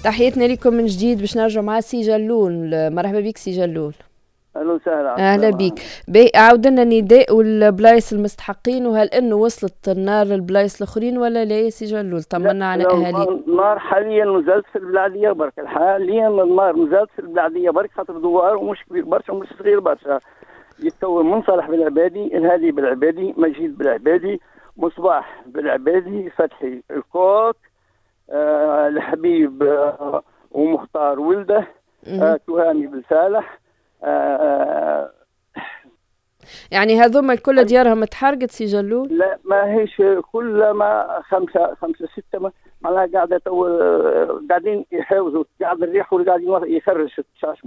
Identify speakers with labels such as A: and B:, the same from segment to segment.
A: تحياتنا لكم من جديد باش نرجع مع سي جلول. مرحبا بك سي جلول.
B: اهلا وسهلا.
A: اهلا بك. عاود لنا النداء والبلايص المستحقين، وهل انه وصلت النار للبلايص الاخرين ولا لا يا سي جلول؟ طمنا على اهالي.
B: النار حاليا مازالت في البلاديه برك، حاليا النار مازالت في البلاديه برك، خاطر دوار ومش كبير برشا ومش صغير برشا. يتكون من صالح بالعبادي، الهادي بالعبادي، مجيد بالعبادي، مصباح بالعبادي، فتحي الكوك، الحبيب ومختار ولده، تهامي بالصالح.
A: يعني هذوما الكل ديارهم تحرقت سي جلول؟
B: لا ما هيش كل ما خمسة ستة معناها قاعدة قاعدين يحاوزوا، قاعد الريح واللي قاعد يخرج الشاش،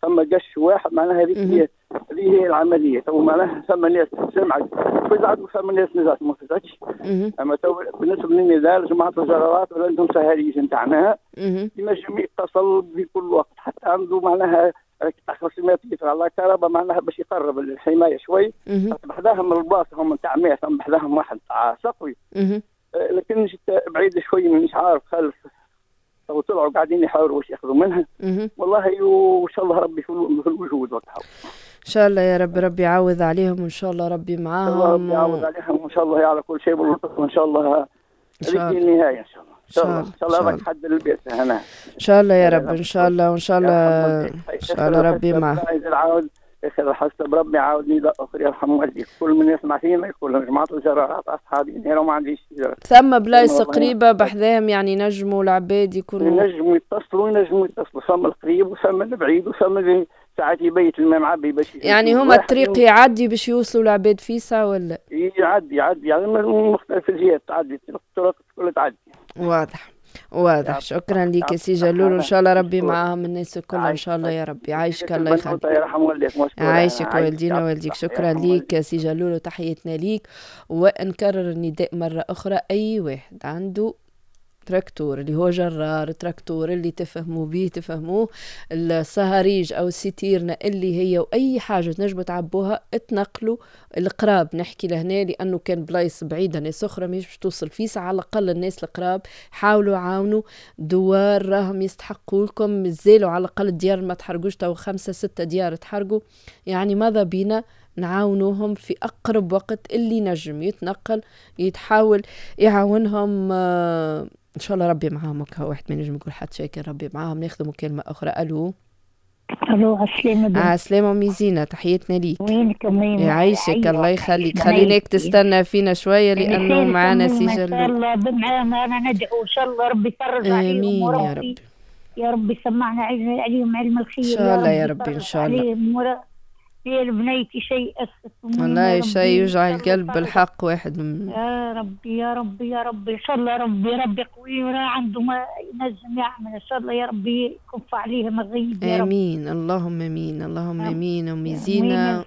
B: ثم قش واحد معناها هذيك هي هذه هي العملية. تو معناها ثم ناس سمعت فزعت وثم ناس نزعت ما فزعتش. اما تو بالنسبة للنزال جماعة الجرارات ولا عندهم سهاريج نتاعنا ينجم يتصل بكل وقت، حتى عنده معناها 500 متر على كهرباء معناها باش يقرب الحماية شوي. بحذاهم البلاصة هم نتاع 100، ثم بحذاهم واحد تاع سقوي، لكن جيت بعيد شوي مانيش عارف خلف وطلعوا قاعدين يحاولوا واش ياخذوا منها. والله وان شاء الله ربي في الوجود وقتها.
A: ان شاء الله يا رب، ربي يعوض عليهم وان شاء الله ربي معاهم.
B: ربي يعوض عليهم وان شاء الله على كل شيء باللطف، وان شاء الله هذيك النهاية ان شاء الله. ان شاء الله ان شاء الله راك حد البيت هنا
A: ان شاء الله يا رب، ان شاء الله وان شاء الله ان شاء الله ربي معاه.
B: اخر حسب ربي عاود نداء اخر يرحم والديك، كل من يسمع فينا يقول جماعة الجرارات اصحابي انا ما عنديش جرارات.
A: ثم بلايص قريبه بحذاهم يعني نجموا العباد يكونوا
B: ينجموا يتصلوا، ينجموا يتصلوا، ثم القريب وثم البعيد وثم اللي ساعات يبيت الماء معبي باش
A: يعني هما الطريق يعدي باش يوصلوا العباد فيسا ولا
B: يعدي يعني من مختلف الجهات تعدي، الطرق كلها تعدي.
A: واضح واضح. شكرا لك يا سي جلول، وان شاء الله ربي معاهم الناس الكل ان شاء الله يا ربي. عايشك الله يخليك. عايشك والدينا والديك. شكرا لك يا سي جلول وتحياتنا ليك. ونكرر النداء مرة اخرى، اي واحد عنده تراكتور اللي هو جرار تراكتور اللي تفهموا بيه تفهموه، الصهاريج او الستيرنا اللي هي واي حاجة تنجموا تعبوها اتنقلوا القراب. نحكي لهنا لانه كان بلايص بعيدة ناس اخرى مش باش توصل فيسع، على الاقل الناس القراب حاولوا عاونوا دوار راهم يستحقوا لكم، مازالوا على الاقل الديار ما تحرقوش، تو 5 6 ديار تحرقوا، يعني ماذا بينا نعاونوهم في اقرب وقت، اللي نجم يتنقل يتحاول يعاونهم. ان شاء الله ربي معاهم. واحد ما نجم يقول حتى شيء، ربي معاهم. ناخذ مكالمة اخرى. الو
C: الو، عسلامة.
A: عسلامة ميزينة، تحياتنا ليك.
C: وينك أميمة؟
A: يعيشك الله يخليك. خليناك تستنى فينا شوية لأنه معانا سي جلول.
C: إن شاء الله معانا، أنا ندعو إن شاء الله ربي يفرج عليهم.
A: آمين يا رب.
C: يا رب سمعنا عليهم علم الخير
A: إن شاء الله يا رب، إن شاء الله.
C: يا بنيتي شيء أسف
A: والله، شيء يوجع القلب بالحق. واحد من
C: يا ربي يا ربي يا ربي، إن شاء الله ربي ربي قوي وراه عنده ما ينجم يعمل، إن شاء الله يا ربي يكف عليهم الغيب يا رب.
A: آمين، اللهم آمين، اللهم آمين. أمي زينة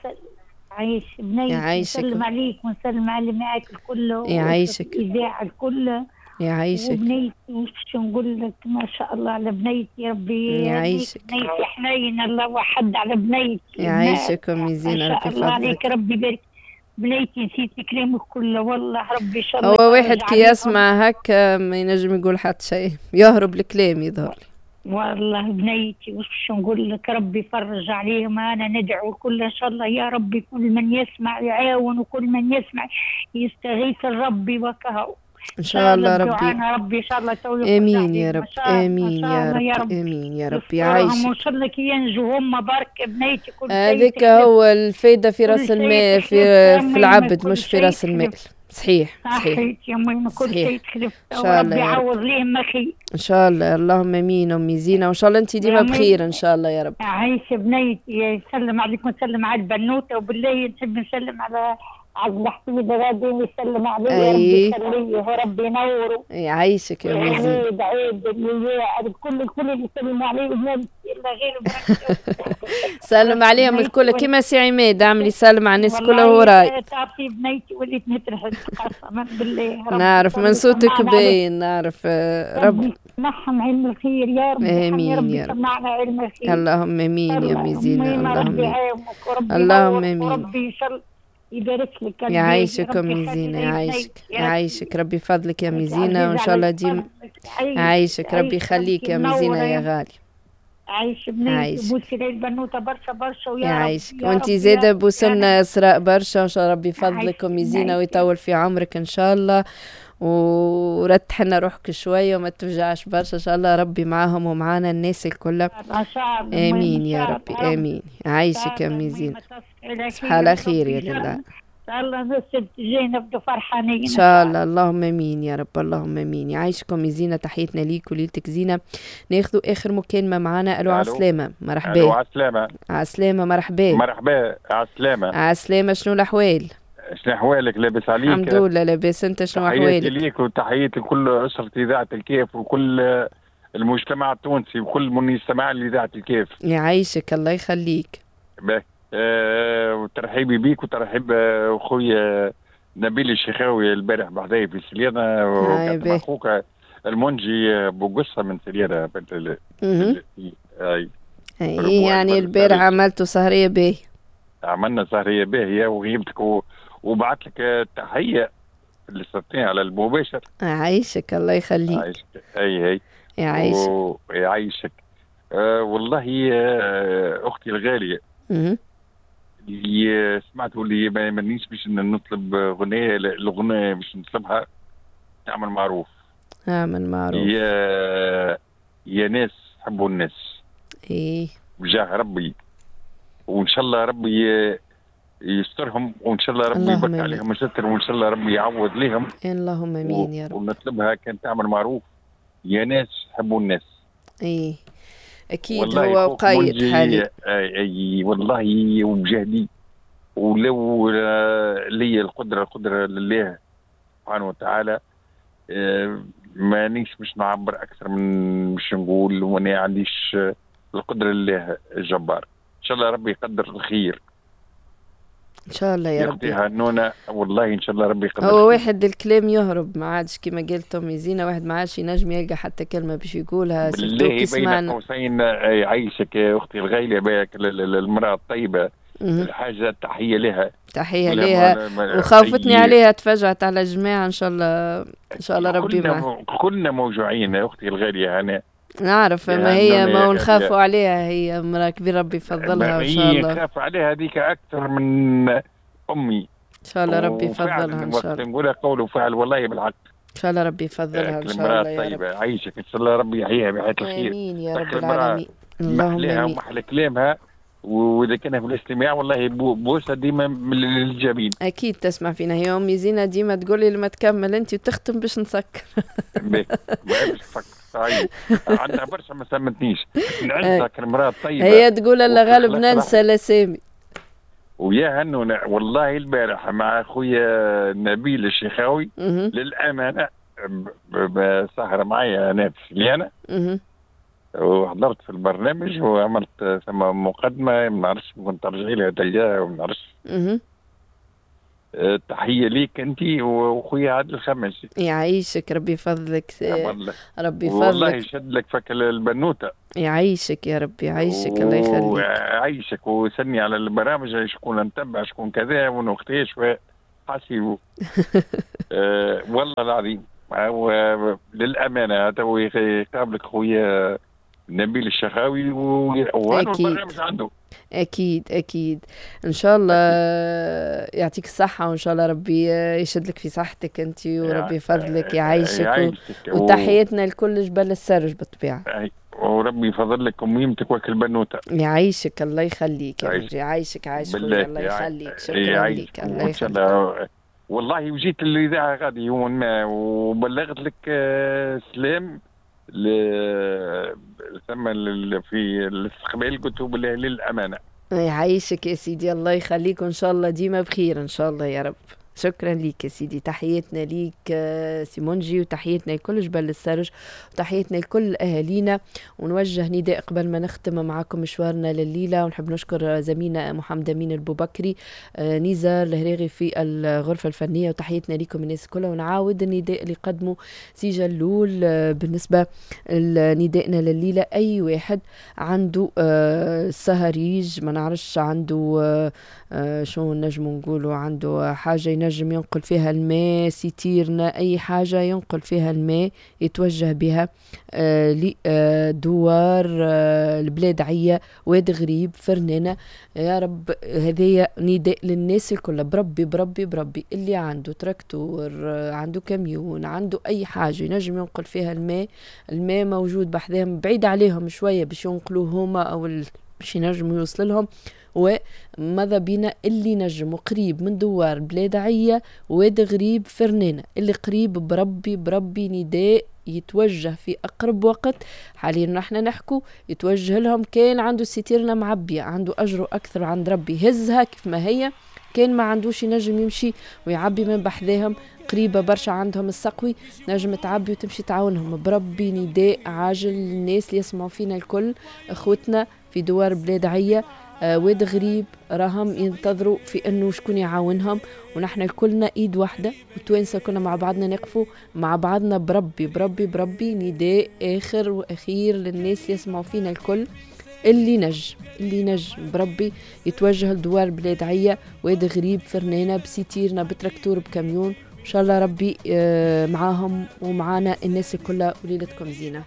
C: عايش بنيتي،
A: يعيشك.
C: نسلم عليك ونسلم على اللي معاك الكل،
A: يعيشك
C: الإذاعة الكل،
A: يعيشك.
C: وبنيتي وش نقول لك، ما شاء الله على بنيتي، ربي
A: يعيشك.
C: بنيتي حنين الله وحد على بنيتي.
A: يعيشك أمي زينة، ربي
C: يفضلك. الله عليك، ربي يبارك بنيتي. نسيت كلامك كله والله، ربي ان شاء الله.
A: هو واحد كي يسمع هكا ما ينجم يقول حتى شيء، يهرب الكلام يظهر.
C: والله بنيتي وش نقول لك، ربي يفرج عليهم. انا ندعو كل ان شاء الله يا ربي، كل من يسمع يعاون، وكل من يسمع يستغيث ربي وكهو.
A: ان شاء الله ربي،
C: ربي ان شاء الله تو.
A: امين يا رب، امين يا رب، امين يا رب. يعيشك
C: وان شاء الله كي ينجوا هما برك بنيتي. كل
A: هذيك هو الفايدة في راس المال، في العبد مش في راس المال. صحيح صحيح
C: يا ميمة، كل شيء تخلف،
A: ان شاء الله
C: ربي يعوض ليهم خير
A: ان شاء الله. اللهم امين امي زينة، وان شاء الله انت ديما بخير ان شاء الله يا رب.
C: عايشه بنيتي، يسلم عليك ونسلم على البنوته، وبالله نحب نسلم على عبد الحفيظ غادي يسلم عليه، ربي يخليه وربي ينوره.
A: يعيشك يا أم زين.
C: عيد عيد الكل اللي يسلموا عليه الا غير.
A: سلم عليهم الكل كيما سي عماد عمل يسلم على الناس كلها وراي.
C: تعرفي بنيتي وليت نترحل قسما بالله.
A: نعرف من صوتك باين، نعرف. رب
C: سمعهم علم الخير يا رب.
A: امين يا رب،
C: سمعنا علم الخير.
A: اللهم امين يا أم زين، اللهم امين، اللهم امين.
C: ربي ان شاء الله يبارك لك.
A: يعيشك أمي زينة، يعيشك يعيشك، ربي يفضلك يا أمي زينة، وإن شاء الله ديما يعيشك، ربي يخليك يا أمي زينة يا غالي.
C: عايش بنيتي، بوسي لي البنوته برشا برشا ويا
A: يعيشك، وانت زاده بوسلنا اسراء برشا، وان شاء الله ربي يفضلك أمي زينة ويطول في عمرك ان شاء الله، ورتح لنا روحك شوية وما تفجعش برشا، ان شاء الله ربي معاهم ومعانا الناس الكل. امين يا ربي، امين. عايشك يا أمي زينة، تصبح على خير يا لله.
C: ان شاء الله السبت الجاي نبدو فرحانين
A: ان شاء الله. اللهم امين يا رب، اللهم امين. يعيشكم يا زينة، تحيتنا ليك وليلتك زينة. ناخذوا اخر مكالمة معانا. الو عسلامة، مرحبا.
D: الو عسلامة.
A: عسلامة، مرحبا.
D: مرحبا، عسلامة.
A: عسلامة، شنو الاحوال؟
D: شنو احوالك؟ لاباس عليك؟
A: الحمد لله لاباس، انت شنو احوالك؟
D: تحياتي ليك وتحياتي لكل اسرة اذاعة الكيف وكل المجتمع التونسي وكل من يستمع لاذاعة الكيف.
A: يعيشك الله يخليك.
D: باهي. وترحيبي بيك وترحيب خويا نبيل الشيخاوي البارح بحذايا في سليانة، وكان اخوك المنجي بوقصة من سليانة.
A: اي يعني البارح عملتوا سهرية باهية.
D: عملنا سهرية باهية وغيبتك وبعث لك تحية اللي صرتيها على المباشر.
A: عايشك الله يخليك.
D: عايشك. اي اي
A: يعيشك.
D: يعيشك. والله اختي الغالية اللي سمعته اللي ما يمنيش باش نطلب غنية، الغنية باش نطلبها تعمل معروف.
A: اعمل معروف.
D: يا ناس حبوا الناس.
A: ايه
D: بجاه ربي، وان شاء الله ربي يسترهم، وان شاء الله ربي يبارك عليهم الستر، وان شاء الله ربي يعوض لهم.
A: اللهم امين يا رب.
D: ونطلبها كان تعمل معروف، يا ناس حبوا الناس.
A: ايه اكيد هو قايد حالي.
D: اي والله وبجهدي، ولو لي القدرة، القدرة لله سبحانه وتعالى، مانيش باش نعبر اكثر من باش نقول، وانا عنديش القدرة لله الجبار. ان شاء الله ربي يقدر الخير
A: ان شاء الله يا ربي.
D: هنونا والله ان شاء الله ربي يقدر.
A: هو واحد الكلام يهرب ما عادش كما قالت امي زينة، واحد ما عادش ينجم يلقى حتى كلمة باش يقولها.
D: بالله بين قوسين يعيشك يا اختي الغالية، باك المراة الطيبة الحاجة، تحية لها.
A: تحية لها، وخوفتني عليها، تفجعت على الجماعة. ان شاء الله ان شاء الله ربي معها.
D: كلنا موجوعين يا اختي الغالية، انا
A: نعرف ما هي ما نخافوا عليها، هي امرأة كبيرة ربي يفضلها ان شاء الله.
D: نخاف عليها هذيك اكثر من امي.
A: ان شاء الله ربي يفضلها ان شاء الله.
D: نقولها قول وفعل والله بالحق.
A: ان شاء الله ربي يفضلها ان شاء الله يا رب.
D: عايشك ان شاء الله ربي يحييها بحياة الخير.
A: امين يا رب العالمين. اللهم امين.
D: ومحلى كلامها، واذا كان في الاستماع والله بوسه ديما من الجبين.
A: اكيد تسمع فينا هي امي زينة، ديما تقول لي لما تكمل انت وتختم باش نسكر.
D: باش تسكر عندها برشا ما سمتنيش نعزها كالمراه الطيبة.
A: هي تقول الله غالب ننسى الاسامي.
D: ويا هنونا والله البارح مع خويا نبيل الشيخاوي للامانة سهره معايا انا في سليانه، وحضرت في البرنامج وعملت ثم مقدمه ما نعرفش كنت ترجعي لها تلقاها وما نعرفش. تحية ليك انت وخويا عادل الخماسي.
A: يعيشك ربي يفضلك. ربي يفضلك
D: والله يشد لك فك البنوته.
A: يعيشك يا ربي، يعيشك الله يخليك.
D: يعيشك وسني على البرامج شكون نتبع شكون كذا ونوقتاش حاسيبو. والله العظيم للامانة تو يقابلك خويا نبيل الشخاوي والبرنامج عنده.
A: اكيد اكيد ان شاء الله يعطيك الصحة، وان شاء الله ربي يشد لك في صحتك انت وربي يفضلك يعيشك، وتحياتنا لكل جبل السرج بالطبيعة.
D: وربي يفضل لك اميمتك وكل بنوته.
A: يعيشك الله يخليك يا ربي، يعيشك عايش خويا الله يخليك، شكرا لك الله يخليك.
D: والله وجيت للاذاعة غادي يوم ما وبلغت لك سلام ثم في الاستقبال، قلت بالله للامانة.
A: يعيشك يا سيدي الله يخليك، وان شاء الله ديما بخير ان شاء الله يا رب. شكرا ليك يا سيدي، تحياتنا ليك سيمونجي، وتحياتنا لكل جبل السرج، وتحياتنا لكل اهالينا. ونوجه نداء قبل ما نختم معكم مشوارنا لليلة، ونحب نشكر زميلنا محمد امين البوبكري، نزار الهريغي في الغرفة الفنية، وتحياتنا لكم الناس كلها. ونعاود النداء اللي قدمه سي جلول بالنسبة لندائنا لليلة، اي واحد عنده سهريج ما نعرفش عنده شو نجم نقولوا، عنده حاجة ينجم ينقل فيها الماء، citerne، أي حاجة ينقل فيها الماء يتوجه بها لدوار البلاد عية واد غريب فرنانة. يا رب هذايا نداء للناس الكل، بربي بربي بربي اللي عنده تراكتور، عنده كاميون، عنده أي حاجة ينجم ينقل فيها الماء، الماء موجود بحذاهم، بعيد عليهم شوية باش ينقلوه هما أو باش ينجموا يوصل لهم. وماذا بينا اللي نجم قريب من دوار بلاد عية واد غريب فرنانة، اللي قريب بربي بربي نداء يتوجه في أقرب وقت. حاليا نحن نحكو يتوجه لهم، كان عنده citerne معبية عنده أجره أكثر عند ربي هزها كيف ما هي، كان ما عندوش ينجم يمشي ويعبي من بحذاهم، قريبة برشا عندهم السقوي، نجم تعبي وتمشي تعاونهم. بربي نداء عاجل للناس اللي يسمعوا فينا الكل، اخوتنا في دوار بلاد عية واد غريب، راهم ينتظروا في انه شكون يعاونهم، ونحن كلنا ايد واحدة وتوانسه كلنا مع بعضنا نقفوا مع بعضنا. بربي بربي بربي نداء اخر واخير للناس اللي يسمعوا فينا الكل، اللي نجم اللي نجم بربي يتوجه لدوار بلاد عية واد غريب فرنانة ب citerne ب tracteur ب camion، ان شاء الله ربي معاهم ومعانا الناس الكل، وليلتكم زينة.